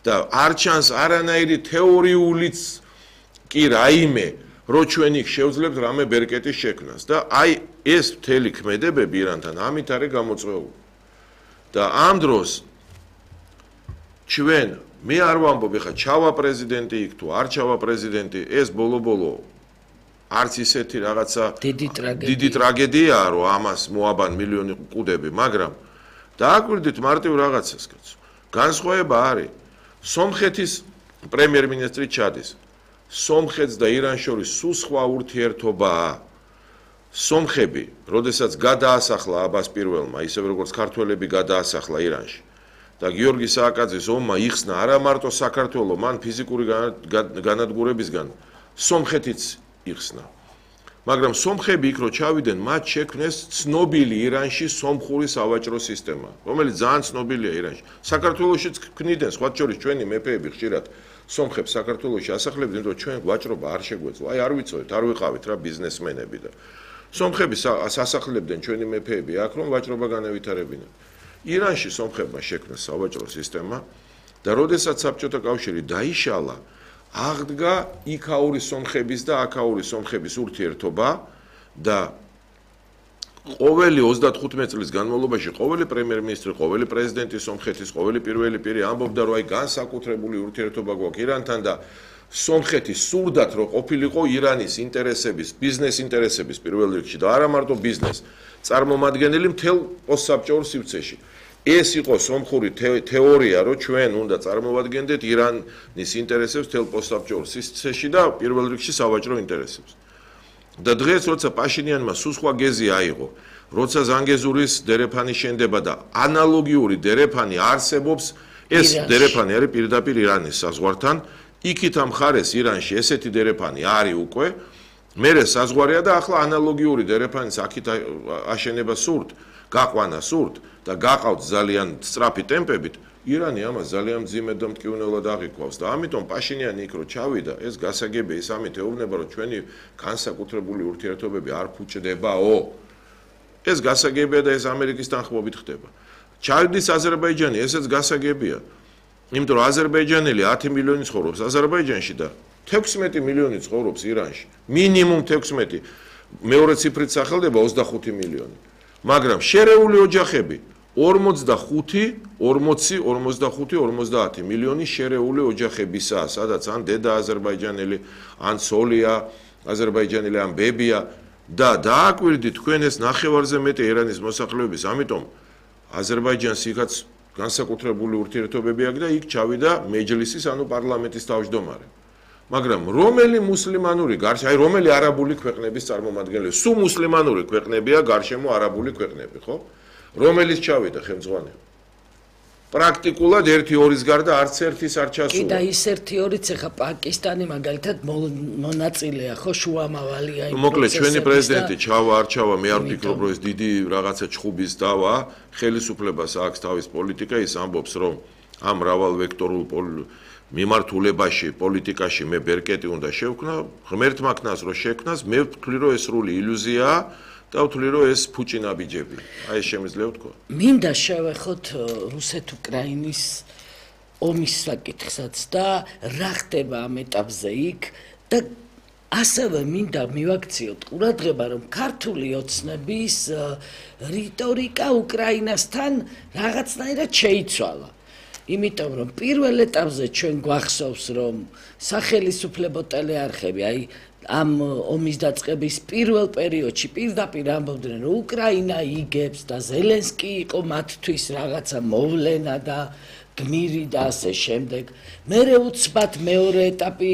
და არ ჩანს არანაირი თეორიულიც კი რაიმე რო ჩვენ იქ შევძლებთ რამე ბერკეტის შექმნას და აი ეს მთელი ქმედებები ირანთან ამით არის გამოწვეული და ამ დროს ჩვენ მე არ ვამბობ ხა ჩავა პრეზიდენტი იქ თუ არ ჩავა პრეზიდენტი ეს ბოლო არც ისეთი რაღაცა დიდი ტრაგედიაა რომ ამას მოაბან მილიონი კუდები მაგრამ დააკვირდით მარტივ რაღაცას კაცო განსხვავება არის სომხეთის პრემიერ-მინისტრი ჩადის სომხეთს და ირანს შორის სულ სხვა ურთიერთობაა სომხები როდესაც გადაასახლა აბას პირველმა ისევე როგორც ქართველები გადაასახლა ირანში და გიორგი სააკაძის ომმა იხსნა არა მარტო საქართველოს მან ფიზიკური განადგურებისგან სომხეთიც იხსნა მაგრამ სომხები იქ რო ჩავიდნენ მათ შექმნეს ცნობილი ირანში სომხური სავაჭრო სისტემა რომელიც ძალიან ცნობილია ირანში საქართველოშიც ქმნიდნენ სხვა შორის ჩვენი მეფეები ხშირად სომხებს საქართველოში ასახლებდნენ რომ ჩვენ ვაჭრობა არ შეგვეძლო აი არ ვიცოდეთ არ ვიყავით რა ბიზნესმენები და სომხები ასახლებდნენ ჩვენი მეფეები აქ რომ ვაჭრობა განევითარებინა ირანში სომხებმა შექმნეს სავაჭრო სისტემა და როდესაც საბჭოთა კავშირი დაიშალა აღდგა იქაური სომხების და აქაური სომხების ურთიერთობა და ყოველი 35 წლის განმავლობაში ყოველი პრემიერ-მინისტრი, ყოველი პრეზიდენტი სომხეთის, ყოველი პირველი პირი ამბობდა რომ აი განსაკუთრებული ურთიერთობა გვაქვს ირანთან და სომხეთი სურდათ რომ ყოფილიყო ირანის ინტერესების, ბიზნეს ინტერესების პირველ რიგში და არა მარტო ბიზნეს წარმომადგენელი მთელ პოსტსაბჭოურ სივრცეში. ეს იყო სომხური თეორია, რომ ჩვენ უნდა წარმოვადგენდეთ ირანის ინტერესებს მთელ პოსტსაბჭოურ სივრცეში და პირველ რიგში სავაჭრო ინტერესებს. და დღეს როცა პაშინიანმა სულ სხვა გეზი აიღო, როცა ზანგეზურის დერეფანი შენდება და ანალოგიური დერეფანი არსებობს, ეს დერეფანი არის პირდაპირ ირანის საზღვართან, იქით ამ ხარეს ირანში ესეთი დერეფანი არის უკვე, მერე საზღვარია და ახლა ანალოგიური დერეფანის აქით აშენება სურთ, გაყვანა სურთ და გაყავთ ძალიან სწრაფი ტემპებით, ირანი ამას ძალიან მძიმედ და მტკივნეულად აღიქვავს და ამიტომ პაშინიანი იქ რო ჩავიდა, ეს გასაგებია, ის ამით ეუბნება, რომ ჩვენი განსაკუთრებული ურთიერთობები არ ფუჭდებაო. ეს გასაგებია და ეს ამერიკის თანხმობით ხდება. ჩავიდის აზერბაიჯანი, ესეც გასაგებია. იმიტომ რომ აზერბაიჯანელი 10 მილიონი ცხოვრობს აზერბაიჯანში და 16 მილიონი ცხოვრობს ირანში. მინიმუმ 16, მეორე ციფრით სახელდება 25 მილიონი. მაგრამ შერეული ოჯახები 40-50 მილიონი შერეული ოჯახებისაა, სადაც ან დედა აზერბაიჯანელი, ან ცოლია აზერბაიჯანელი, ან ბებია და დააკვირდით თქვენ ეს ნახევარზე მეტი ირანის მოსახლეობის, ამიტომ აზერბაიჯანს იქაც განსაკუთრებული ურთიერთობები აქვს და იქ ჩავიდა მეჯლისის, ანუ პარლამენტის თავმჯდომარე. მაგრამ რომელი მუსლიმანური გარშემო, აი რომელი არაბული ქვეყნების წარმომადგენელი, სულ მუსლიმანური ქვეყნებია გარშემო არაბული ქვეყნები, ხო? რომელიც ჩავიდა ხელმძღვანელი. პრაქტიკულად 1-2-ის გარდა არც ერთის არ ჩასულა. კი და ის 1-2-იც ახლა პაკისტანი მაგალითად მონაწილეა, ხო, შუამავალია იმ პროცესებში. მოკლედ ჩვენი პრეზიდენტი ჩავა არ ჩავა, მე არ ვფიქრობ, რომ ეს დიდი რაღაცა ჩხუბის დავა, ხელისუფლებას აქვს თავის პოლიტიკა, ის ამბობს, რომ ამ მრავალვექტორულ მიმართულებაში, პოლიტიკაში მე ბერკეტი უნდა შევქმნა, ღმერთმა ქნას რო შექმნას, მე ვთვლი, რომ ეს სრული ილუზიაა. და ვთვლი რომ ეს ფუჭინაბიჯები. აი ეს შემიძლია ვთქვა. მინდა შევეხოთ რუსეთ-უკრაინის ომის საკითხსაც და რა ხდება ამ ეტაპზე იქ და ასევე მინდა მივაქციოთ ყურადღება რომ ქართული ოცნების რიტორიკა უკრაინასთან რაღაცნაირად შეიცვალა. იმიტომ რომ პირველ ეტაპზე ჩვენ გვახსოვს რომ სახელისუფლებო ტელეარხები აი ამ ომის დაწყების პირველ პერიოდში პირდაპირ ამბობდნენ რომ უკრაინა იგებს და ზელენსკი იყო მათთვის რაღაცა მოვლენა და გმირი და ასე შემდეგ. მერე უცბად მეორე ეტაპი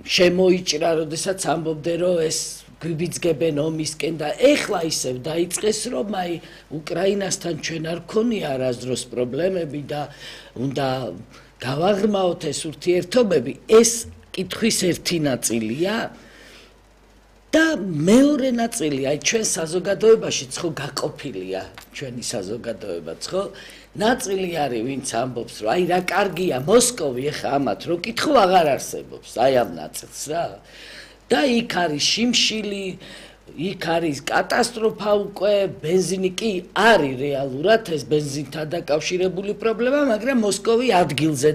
შემოიჭრა, როდესაც ამბობდნენ რომ ეს გვიბიძგებენ ომისკენ და ეხლა ისევ დაიწყეს რომ აი უკრაინასთან ჩვენ არ გქონია არასდროს პრობლემები და უნდა გავაღრმაოთ ეს ურთიერთობები. ეს კითხვის ერთი ნაწილია და მეორე ნაწილი, აი ჩვენ საზოგადოებაშიც ხო გაყოფილია ჩვენი საზოგადოებაც, ხო? ნაწილი არის, ვინც ამბობს, რომ აი რა კარგია მოსკოვი, ეხა ამათ რო კითხო აღარ არსებობს, აი ამ ნაწილს რა. და იქ არის შიმშილი, იქ არის კატასტროფა უკვე, ბენზინი კი არის რეალურად ეს ბენზინთან დაკავშირებული პრობლემა, მაგრამ მოსკოვი ადგილზე